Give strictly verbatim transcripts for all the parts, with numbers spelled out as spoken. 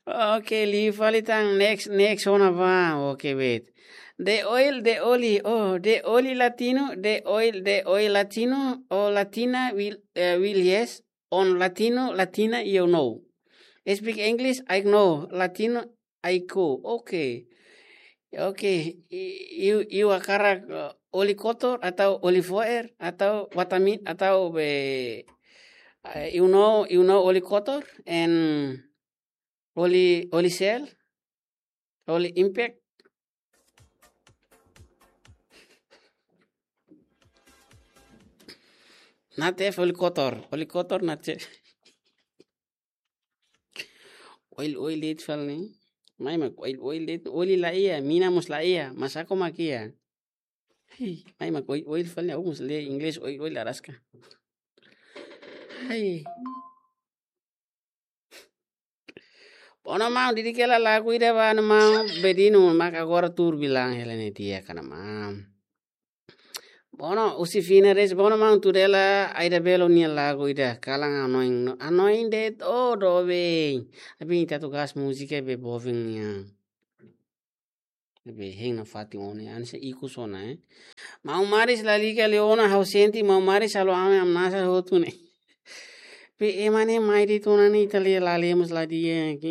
Okay, liu fali tan, next, next ona ba. Okay, wait. The oil, the oli, oh, the oli latino, the oil, the oil latino, oh, latina, will, eh, will yes, on latino, latina, you know. Speak English, I know, latino, I go. Okay. Okay, i-, iha, iha hakarak, eh, oli kotor atau oli fo'er atau vitamin atau be, eh, you know, you know oli kotor and oli, oli sel, oli impact. Nate oli kotor, oli kotor nate. Oil, oil de'it fali ne'e. Mai mak oil, oil de'it, oli la iha, mina mós la iha, masako mak iha. Hei, mai mak oil, oil fali ne'e, ha'u mós lee Inglés oil, oil araska. Hei. Bona maun, di'ak hela lagu ida ba, maun, bedinu mak agora tuur bilang hela ne'e di'ak ona maun. Bona, husi Fina Reis, bona maun, tuir hela Aida Belo nia lagu ida, kalan anoin, anoin de'it, oh, doben. Abin ita atu gas múzika be boven nia. Be hein nafatin ona, hanesan ikus ona, eh. Maun Maris lalika liu ona, ha'u sente Maun Maris halo ami hamnasa hotu ne'e. Be ema ne'e mai de'it ona ne'e, ita lee la lee mós la di'ak.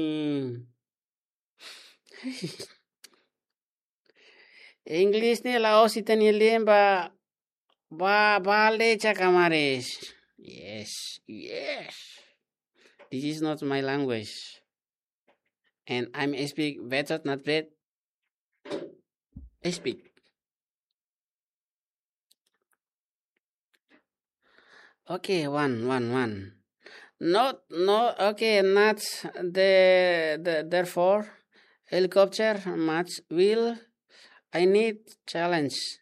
Inglés ne'e la'ós ita-nia lian ba, ba, ba lee cakamares. Yes, yes. This is not my language. And I'm speak better, not bad. I speak. Okay, one, one, one. Not, no, okay, not the, the, therefore, helicopter much will, I need challenge.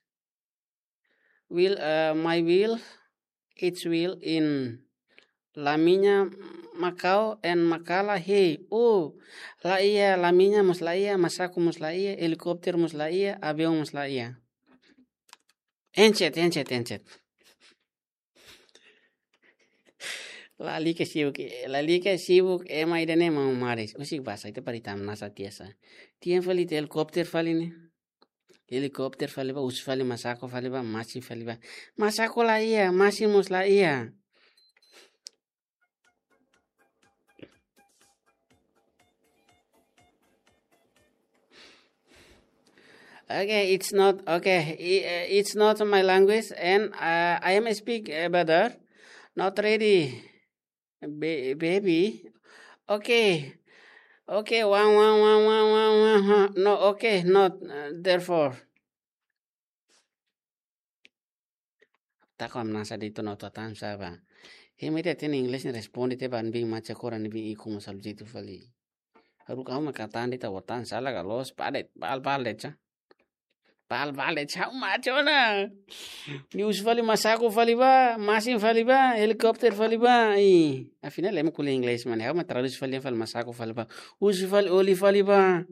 Will, uh, my will, its will in la mina makau and makala, hey, oh, la iha, la mina mós la iha, masako mós la iha, helikópteru mós la iha, aviaun mós la iha. Encet, encet, encet. Lalika sibuk, lalika sibuk, ema ida ne'e Maun Maris. Husik basa, ita para ita hamnasa tiha sa. Tiha fali ita helikópteru fali ne'e. Helikópteru fali ba, husu fali masako fali ba, masin fali ba. Masako la iha, masin mós la iha. Okay, it's not, okay, i-, eh, it's not my language and, uh, I am speak, uh, better. Not ready, ba-, baby. Okay. Okay, one, one, one. No, okay, not, uh, therefore. Tako hamnasa de'it ona, atu hatán sá ba. Ema ida hatene Inglés ne'e responde tiha ba, ne'ebé mak cakora ne'ebé ikus mós halo jeitu fali. Haruka uma katan de'it, atu hatán sala ka loos, padet, bal, bal de'it sa. Bal, bal de'it sa, uma cona. Nia husu fali masako fali ba, masin fali ba, helikópteru fali ba. Ih, afinál ema ko'alia Inglés mak ne'e, ha'u mak tradús fali, fali masako fali ba. Husu fali oli fali ba.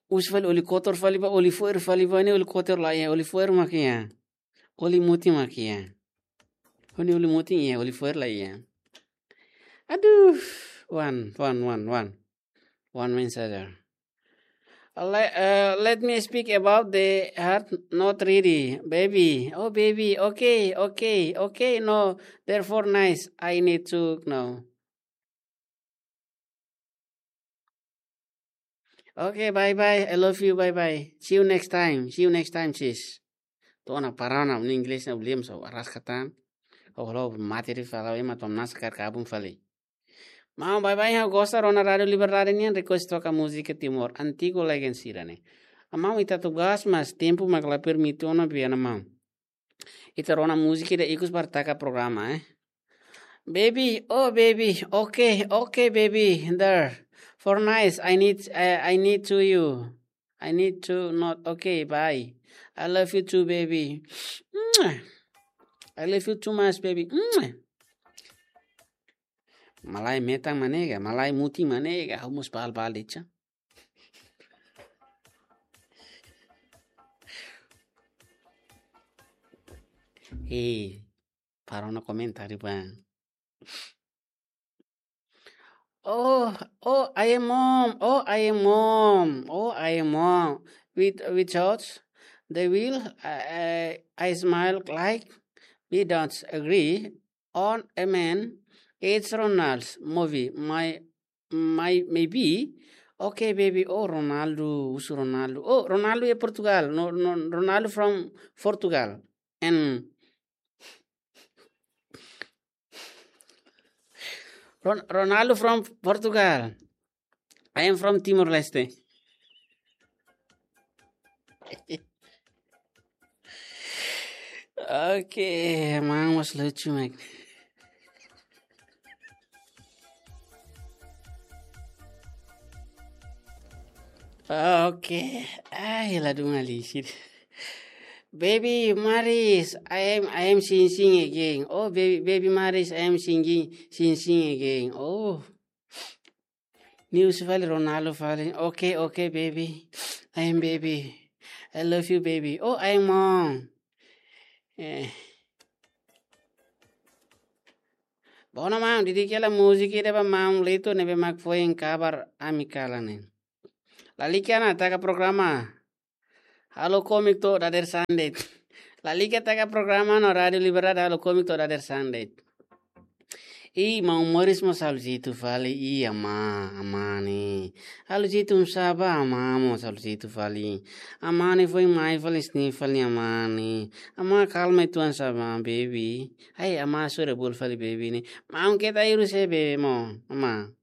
Husu fali oli kotor fali ba, oli fo'er fali ba, ne'e oli kotor la iha, oli fo'er mak iha. Oli mutin mak iha. Ha'u-nia oli mutin iha, oli fo'er la iha. Aduh, one, one, one, one. One man saja. Le-, uh, let me speak about the heart, not really. Baby, oh baby, okay, okay, okay, no, therefore nice. I need to know. Okay, bye bye. I love you. Bye bye. See you next time. See you next time, sis. To'o ona para ona, nia Inglés ne'e ulem so araska tan. Oh, lo mate ri fala, ema atu hamnasa kaer kabun fali. Maun, bye bye, ha'u gosta rona Rádiu Liberdade nian, request troka múzika Timor, antigu legend sira-ne'e. Maun, ita atu gas, mas tempu mak la permite ona, biana maun. Ita rona múzika ida ikus para taka programa, eh. Baby, oh baby, okay, okay, baby, there. For nice, I need, I, I need to you. I need to not, okay, bye. I love you too, baby. Mwah. I love you too much, baby. Mwah. Malae metan mak ne'e ka, malae mutin mak ne'e ka, ha'u mós bal bal de'it sa. Hei, para ona komentáriu ba. Oh, oh, I am mom. Oh, I am mom. Oh, I am mom. With, without the will, I, I, I smile like we don't agree on a man. It's Ronald's movie. My, my, maybe. Okay, baby. Oh, Ronaldo. Husu Ronaldo. Oh, Ronaldo é Portugal. No, no, Ronaldo from Portugal. And Ron-, Ronaldo from Portugal. I am from Timor-Leste. Okay, man, was lucu, man. Okay. Ai, la duma lisit. Baby Maris, I am, I am sing sing again. Oh, baby, baby Maris, I am singing, sing sing again. Oh. News fali, Ronaldo fali. Okay, okay, baby. I am baby. I love you, baby. Oh, I am mom. Eh. Bona, mam, didik hela múzika ida ba mam Lito ne'ebé mak foin kabar ami kalan ne'e. Lalika ona taka programa. Halo Komik to'o dadeer-saan de'it. Lalika taka programa no Rádio Liberdade, Halo Komik to'o dadeer-saan de'it. I, maun Moris mós halo jeitu fali, i, amá, amá ne'e. Halo jeitu oinsá bá, amá mós halo jeitu fali. Amá ne'e foin mai fali, sini fali, amá ne'e. Amá kalma uitoan sá bá, baby. Ai, amá sore bol fali, baby ne'e. Maun keta iru sé, baby, maun. Amá.